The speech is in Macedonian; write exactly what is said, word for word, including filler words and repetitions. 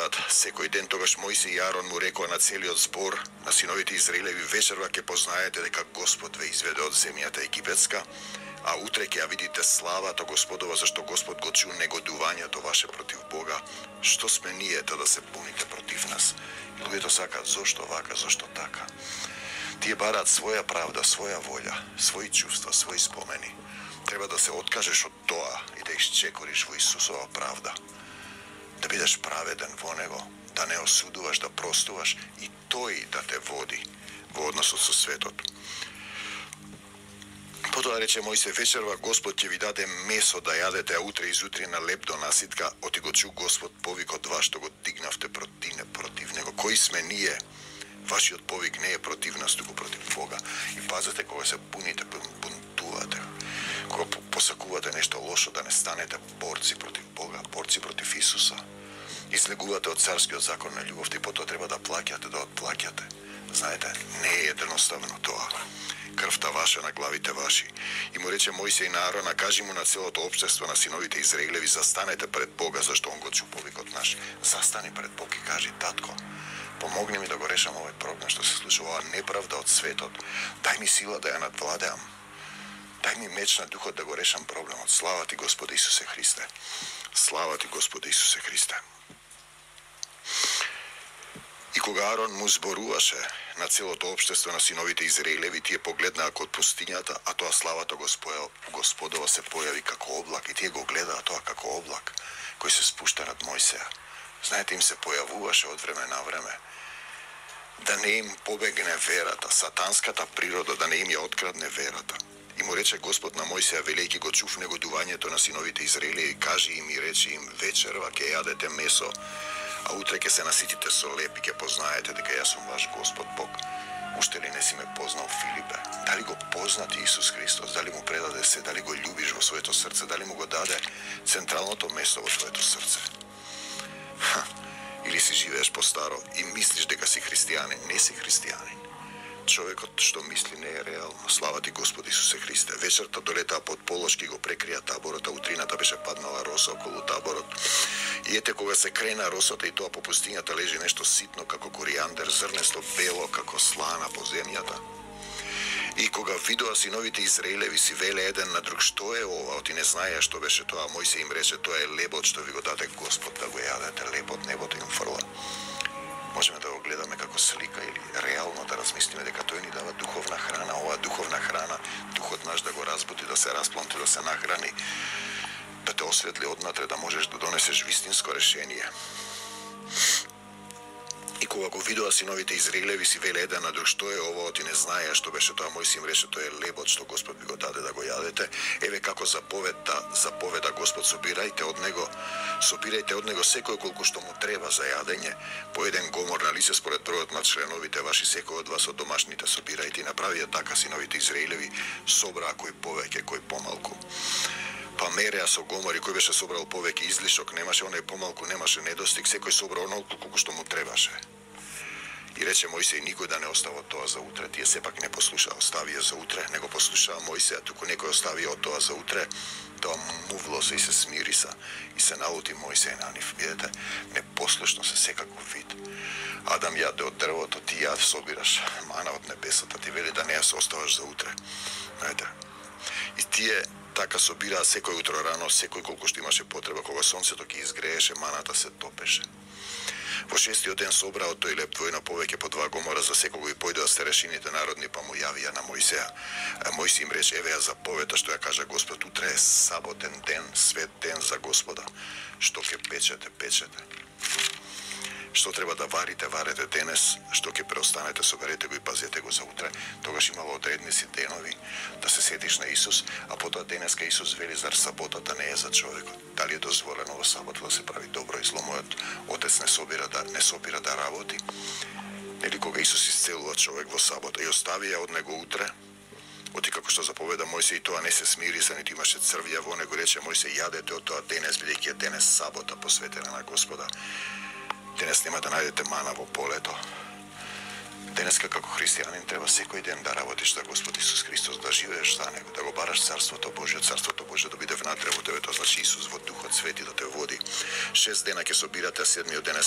гледаат секој ден, тогаш Мојсе и Арон му рекоа на целиот збор на синовите Израелеви: вечерва ќе познаете дека Господ ве изведе од земјата египетска, а утре ќе ја видите славата Господова, зашто Господ го чу негодувањето ваше против Бога. Што сме ние да се буните против нас? И луѓето сакаат зошто вака, зошто така. Тие бараат своја правда, своја волја, своји чувства, своји спомени. Треба да се откажеш од тоа и да исчекориш во Исусова правда. Да бидеш праведен во Него, да не осудуваш, да простуваш и тој да те води во односот со светот. Потоа рече Мојсе: вечерва Господ ќе ви даде месо да јадете, а утре изутре на леп до наситка, оти го чу Господ повикот ваш, што го дигнавте против, против Него. Кои сме ние? Вашиот повик не е против нас, туку против Бога. И пазете кога се буните, бунтувате, кога посакувате нешто лошо, да не станете борци против Бога, борци против Исуса. И слегувате од царскиот закон на љубовта и потоа треба да плаќате, да отплаќате. Знаете, не е едноставно тоа. Крвта ваша на главите ваши. И му рече Мојсе и на Арона: кажи му на целото општество на синовите Израелеви: застанете пред Бога, зашто он го чу повикот наш. Застани пред Бог и кажи: татко, помогни ми да го решам овој проблем што се случува, оваа неправда од светот. Дај ми сила да ја надвладеам. Дај ми меч на духот да го решам проблемот. Слава ти, Господи Исусе Христе. Слава ти, Господи Исусе Христе. И кога Арон му зборуваше на целото општество на синовите Израелеви, тие погледнаа код пустињата, а тоа славата Господова се појави како облак, и тие го гледаа тоа како облак кој се спушта над Мојсеја. Знаете, им се појавуваше од време на време, да не им побегне верата, сатанската природа, да не им ја открадне верата. И му рече Господ на Мојсеја, велејќи го чув негодувањето на синовите Израелеви: кажи им и речи им: вечерва ќе јадете месо, а утре ќе се наситите со леп и ќе познаете дека јас сум ваш Господ Бог. Уште ли не си ме познал, Филипе? Дали го познати Исус Христос? Дали му предаде се? Дали го љубиш во своето срце? Дали му го даде централното место во твоето срце? Ха, или си живееш по старо и мислиш дека си христијанин? Не си христијанин. Човекот што мисли не е реално. Слава ти, Господи Исусе Христе. Вечерта долетаа под полошки, го прекрија таборот, а утрината беше паднала роса околу таборот. И ете, кога се крена росата и тоа по пустињата лежи нешто ситно како коријандер, зрнесто бело како слана по земјата. И кога видоа синовите Израелеви, си веле еден на друг: што е ова? Оти не знаеа што беше тоа. Мојсе им рече: тоа е лебот што ви го даде Господ да го јадете. Лебот небото им фрла. Можеме да го гледаме како слика или реално да размислиме дека тој ни дава духовна храна. Оваа духовна храна, духот наш да го разбуди, да се распланти, да се нахрани, да те осветли однатре, да можеш да донесеш вистинско решение. И кога го видоа синовите Израелеви, си веле еден на друг: што е ова? Оти не знаеа што беше тоа. Мојсе им рече: тоа е лебот што Господ ви го даде да го јадете. Еве како заповеда, заповеда Господ: собирајте од него, собирајте од него секој колку што му треба за јадење, по еден гомор на лице според бројот на членовите ваши, секој од вас од домашните собирајте. И направија така синовите Израелеви, собраа кој повеќе, кој помалку. Па мереа со гомори, кој беше собрал повеќе излишок, немаше, оној помалку немаше недостиг, секој собра онолку колку што му требаше. И рече Мојсеј: никој да не остава тоа за утре. Тие сепак не послушаа, оставија за утре, не го послушаа Мојсеја, туку некој оставија од тоа за утре. Тоа мувло се и се смириса и се налути Мојсеј на нив. Видете, непослушно се секаков вид. Адам јаде од дрвото, ти ја собираш мана од небесата, ти вели да не ја се оставаш за утре. Знаете, и тие така собираа секој утро рано, секој колку што имаше потреба. Кога сонцето ќе изгрееше, маната се топеше. Во шестиот ден собраа од тој леп двојна повеќе по два гомора за секого и појдоа старешините народни, па му јавија на Мојсеја. Мојсе им рече: еве ја заповета што ја кажа Господ: утре е саботен ден, свет ден за Господа. Што ќе печете, печете. Што треба да варите, варете денес. Што ќе преостанете, соберете го и пазете го за утре. Тогаш имало одредници денови да се сетиш на Исус, а потоа денеска Исус вели: зар саботата не е за човекот? Дали е дозволено во сабот да се прави добро и зло? Мојот Отец не собира да не собира да работи. Нели кога Исус исцелува човек во сабота и остави ја од него утре, оти како што заповеда Мојсе, и тоа не се смири, за ниту имаше црвја во него, рече Мојсе: јадете од тоа денес, бидејќи е денес сабота посветена на Господа. Денес нема да најдете мана во полето. Денеска како христијанин треба секој ден да работиш за Господ Исус Христос, да живееш за него, да го бараш Царството Божје, Царството Божје да биде внатре во тебе, тоа значи Исус во Духот Свети да те води. Шест дена ќе собирате, седмиот ден е